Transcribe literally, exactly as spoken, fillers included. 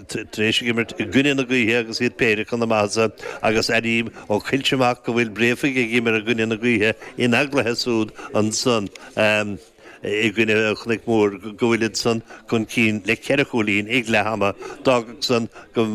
Tar éis ag imirt i gcoinne na gaoithe agus iad péire chun na maitheasa agus airím ó Choillte amach go bhfuil Bréifigh ag imirt i gcoinne na gaoithe ina gcluiche súd ansan i gcoinne Chnoic Mór go bhfuil san chun cinn le ceithre chúilín ag leath ama. D'fhágfadh san go